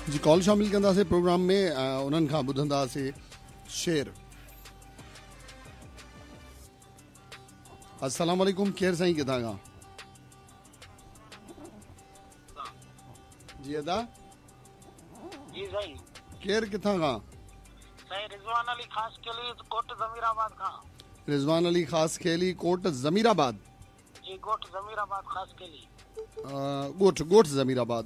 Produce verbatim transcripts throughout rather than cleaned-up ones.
जी call शामिल कंदासीं programme में, उन्हनि खां ॿुधंदासीं शेर। अस्सलाम वालेकुम, केरु साईं किथां खां? जी अदा। जी साईं। केरु किथां खां? साईं रिजवान अली खास खेली कोट ज़मीराबाद खां। रिजवान अली खास खेली कोट ज़मीराबाद। जी गोठ ज़मीराबाद खास खेली। गोठ गोठ ज़मीराबाद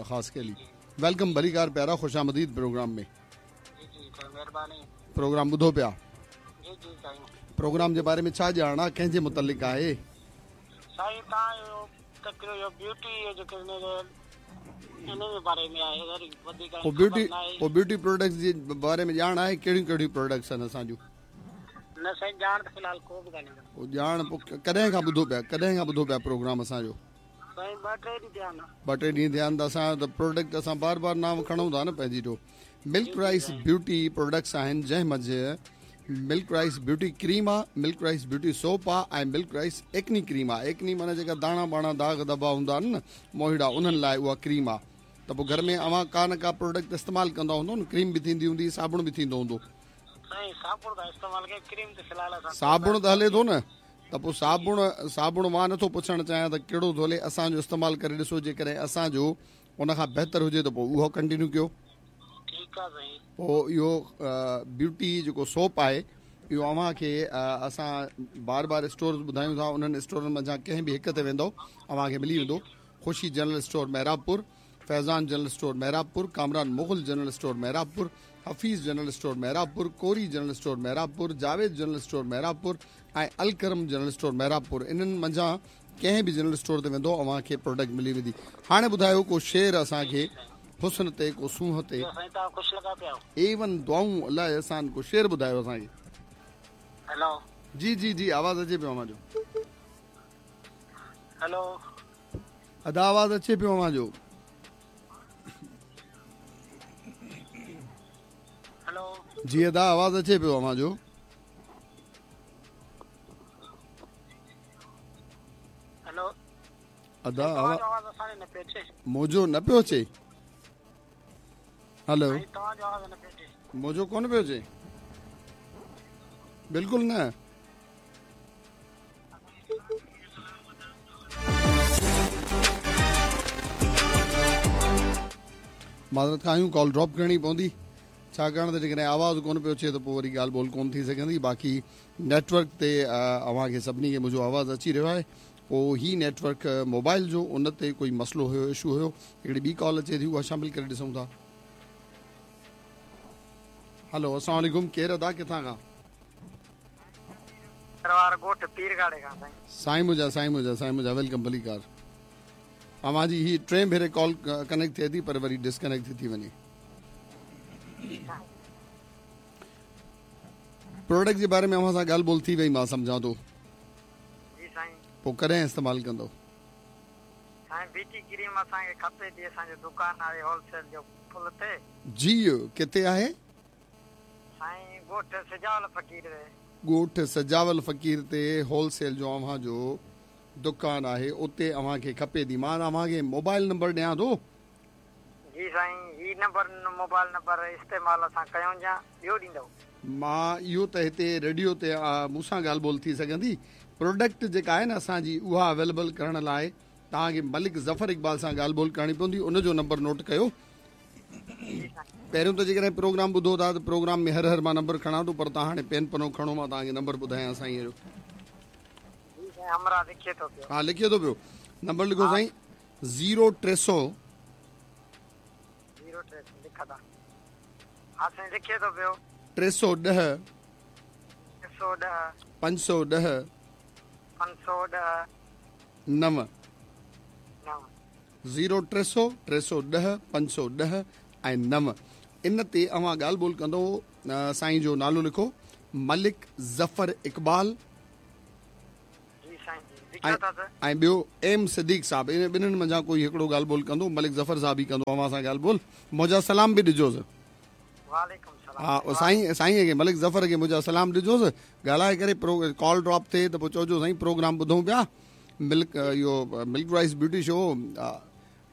खास खेली। Welcome भलीकार प्यारा, खुश आमदीद प्रोग्राम में। जी जी मेहरबानी। प्रोग्राम ॿुधो पिया? जी जी साईं। प्रोग्राम जे बारे में छा ॼाण आहे, कंहिंजे मुतलिक़ आहे? साईं तव्हां इहो ब्यूटी जेके इन जे बारे में आहे, वधीक पोइ ब्यूटी पोइ ब्यूटी प्रोडक्ट्स जे बारे में ॼाण आहे? कहिड़ियूं कहिड़ियूं प्रोडक्ट्स आहिनि असांजूं? न साईं ॼाण त फ़िलहाल को बि कान्हे। पोइ ॼाण पोइ कॾहिं खां ॿुधो पिया, कॾहिं खां ॿुधो पिया प्रोग्राम असांजो? साईं ॿ टे ॾींहं थिया आहिनि। ॿ टे ॾींहं थिया आहिनि त असां त प्रोडक्ट असां बार बार नाम खणूं था न पंहिंजी। जो मिल्क राइस ब्यूटी प्रोडक्ट्स आहिनि, जंहिं मंझि मिल्क राइस ब्यूटी क्रीम आहे, मिल्क राइस ब्यूटी सोप आहे ऐं मिल्क राइस एक्नी क्रीम आहे। एक्नी माना जेका दाणा बाणा दाग़ धॿा हूंदा आहिनि न मोहिड़ा, उन्हनि लाइ उहा क्रीम आहे। त पोइ घर में अव्हां का न का प्रोडक्ट इस्तेमालु कंदा हूंदो न, क्रीम बि थींदी हूंदी, साबुण बि थींदो हूंदो। साबुण त हले थो न, त पोइ साबुण साबुण मां नथो पुछणु चाहियां त कहिड़ो थो हले, असांजो इस्तेमालु करे ॾिसो, जेकॾहिं असांजो उन खां बहितर हुजे त पोइ उहो कंटिन्यू कयो। पोइ इहो ब्यूटी जेको सोप आहे इहो अव्हांखे असां बार बार स्टोर ॿुधायूं था, उन्हनि स्टोरनि मंझां कंहिं बि हिकु ते वेंदव अव्हांखे मिली वेंदो। Khushi general store Mehrabpur, Faizan general store Mehrabpur, Kamran Mughal general store Mehrabpur, Hafeez general store Mehrabpur, Kori general store Mehrabpur, Javed general store Mehrabpur ऐं अलकरम जनरल स्टोर मेहराबपुर। इन्हनि मंझां कंहिं बि जनरल स्टोर ते वेंदो अव्हांखे प्रोडक्ट मिली वेंदी। हाणे ॿुधायो को शेर असांखे हुस्न ते, को सूंहं ते। एवन दुआऊं अलाह अहसान, को शेर ॿुधायो असांखे। हेलो। जी जी जी आवाज़ अचे पियो अव्हांजो। हेलो। अदा आवाज़ अचे पियो अव्हांजो। हेलो। जी अदा आवाज़ अचे पियो अव्हांजो। हेलो। अदा आवाज़ असांखे न पियो अचे। मुंहिंजो न पियो अचे? हेलो। तव्हांजो आवाज़ न पियो अचे। मुंहिंजो कोन पियो अचे? बिल्कुलु न। माज़रत खां आहियूं, कॉल ड्रॉप करणी पवंदी, छाकाणि त जेकॾहिं आवाज़ कोन पियो अचे त पोइ वरी ॻाल्हि ॿोल कोन थी सघंदी। बाक़ी नेटवर्क ते अव्हांखे सभिनी खे मुंहिंजो आवाज़ अची रहियो आहे, पोइ ही नेटवर्क मोबाइल जो उन ते कोई मसइलो हुयो, इशू हुयो। हिकिड़ी ॿी कॉल अचे थी, उहा शामिल करे ॾिसूं था। हेलो, अस्सलाम वालेकुम, केरु अदा किथां खां? ॻोठ पीरगाड़े खां साईं। साईं मुंहिंजा, साईं मुंहिंजा, साईं मुंहिंजा, welcome भलीकार। अव्हांजी हीअ टे भेरे कॉल कनेक्ट थिए थी पर वरी डिस्कनेक्ट थी थी वञे। प्रोडक्ट जे बारे में अव्हां सां ॻाल्हि ॿोल थी वई, मां सम्झां थो। जी साईं। पोइ कॾहिं इस्तेमालु कंदव? साईं ब्यूटी क्रीम असांखे खपे थी, असांजो दुकान आहे होलसेल जो पुल ते। जी किथे आहे? साईं ॻोठ सजावल फ़क़ीर ते। ॻोठ सजावल फ़क़ीर ते होलसेल जो अव्हांजो दुकान आहे, उते अव्हांखे खपे थी। मां अव्हांखे मोबाइल नंबर ॾियां थो। जी साईं, ही नंबर मोबाइल नंबर इस्तेमाल असां कयूं या ॿियो ॾींदव? मां इहो त हिते रेडियो ते मूंसां ॻाल्हि ॿोल थी सघंदी। प्रोडक्ट जेका आहे न असांजी, उहा अवेलेबल करण लाइ तव्हांखे मलिक ज़फ़र इक़बाल सां ॻाल्हि ॿोल करणी पवंदी। उनजो नंबर नोट कयो। पहिरियों त जेकॾहिं प्रोग्राम ॿुधो था त प्रोग्राम में हर हर मां नंबर खणां थो, पर तव्हां हाणे पेन पनो खणो, मां तव्हांखे नंबर ॿुधायां साईं जो। लिखे थो पियो। हा लिखे थो पियो। नंबर लिखो साईं, ज़ीरो टे सौ ज़ीरो टे सौ लिखा हा साईं, लिखे थो पियो। टे सौ ॾह टे सौ ॾह पंज सौ ॾह पंज सौ ॾह नव नव। ज़ीरो टे सौ टे सौ ॾह पंज सौ ॾह ऐं नव। इन ते अव्हां ॻाल्हि ॿोल कंदो। साईं जो नालो लिखो, मलिक ज़फ़र इक़बाल ऐं ॿियो एम सिद्दीक साहब। इन ॿिन्हिनि मंझां कोई हिकिड़ो ॻाल्हि ॿोल कंदो, मलिक ज़फ़र साहब ई कंदो अव्हां सां ॻाल्हि ॿोल। मुंहिंजा सलाम बि ॾिजोसि। हा साईं, साईं खे मलिक ज़फ़र खे मुंहिंजा सलाम ॾिजोसि। ॻाल्हाए करे कॉल ड्रॉप थिए त पोइ चइजो साईं प्रोग्राम ॿुधूं पिया, मिल्क इहो milk rice beauty show,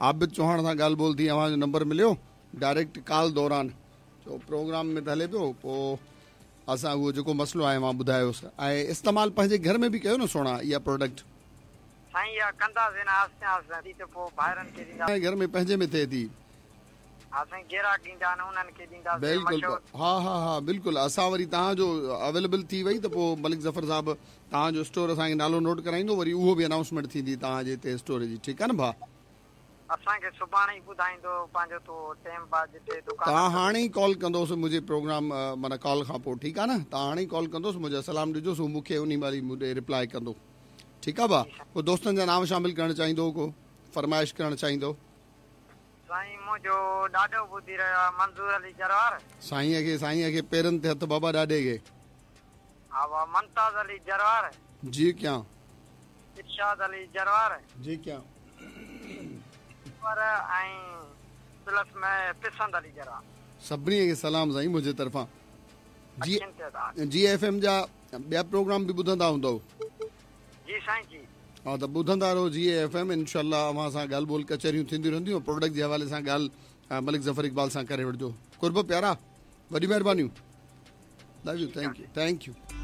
Abid Chauhan सां ॻाल्हि ॿोल थी, अव्हांजो नंबर मिलियो। ڊائريڪٽ ڪال دوران چئو پروگرام ۾ ته هلي پيو پوءِ اسان اهو جيڪو مسئلو آهي مان ٻڌايوس ۽ استعمال پنهنجي گهر ۾ به ڪيو نه سهڻا اها پراڊڪٽ سائين اها ڪنداسين نه آهستي آهستي ته پوءِ ڀائرن کي ڏيندا گهر ۾ پنهنجي ۾ ٿئي ٿي. ها سائين گراهڪ ايندا آهن انهن کي ڏينداسين. بلڪل ها ها ها بلڪل اسان وري توهان جو اويليبل ٿي وئي ته پوءِ ملڪ ظفر صاحب توهان جو اسٽور اسان کي نالو نوٽ ڪرائيندو وري اهو به انائونسمينٽ ٿيندي توهان جي هتي اسٽور جي. ٺيڪ آهي نه ڀاءُ؟ اسان کي سڀاڻي ئي ٻڌائيندو پنهنجو تو ٽائيم بعد جتي دڪان توهان هاڻي ئي ڪال ڪندوس منهنجي پروگرام معنيٰ ڪال کان پوءِ. ٺيڪ آهي نه؟ توهان هاڻي ئي ڪال ڪندوس منهنجا سلام ڏجوس هو مون کي ان مهل ئي مون ڏي رپلائي ڪندو. ٺيڪ آهي ڀاءُ؟ پوءِ دوستن جا نام شامل ڪرڻ چاهيندو ڪو فرمائش ڪرڻ چاهيندو؟ سائين منهنجو ڏاڏو ٻڌي رهيو آهي منظور علي جروار. سائينءَ کي سائينءَ کي پيرن تي هٿ بابا ڏاڏي کي. ها ڀاءُ ممتاز علي جروار. جي ڪيان. ارشاد علي جروار. جي ڪيان. پر ۽ پلس ۾ پسند علي جروار. سڀني کي سلام سائين منهنجي طرفان. جي جي ايف ايم جا ٻيا پروگرام به ٻڌندا هوندؤ؟ جي سائين جي. ها ته ٻڌندا رهو جي ايف ايم. انشا اوهان سان ڳالهه ٻولهه ڪچهريون ٿينديون رهنديون. پراڊڪٽ جي حوالي سان ڳالهه ملڪ ظفر اقبال سان ڪري وٺجو. قرب پيارا وڏي مهربانيون. Love you. Thank you thank you.